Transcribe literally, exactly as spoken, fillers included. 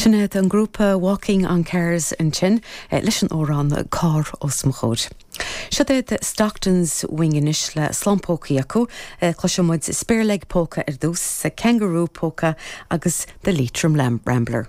Sin iad an grúpa Walking on Cars ansin leis an amhrán Carr os mo chomhair. Seo iad Stockton's Wing anois le slám polcaí acu, cloisfidh muid Spare Leg Polka ar dtús, Kangaroo Polka agus The Leitrim Lamb Rambler.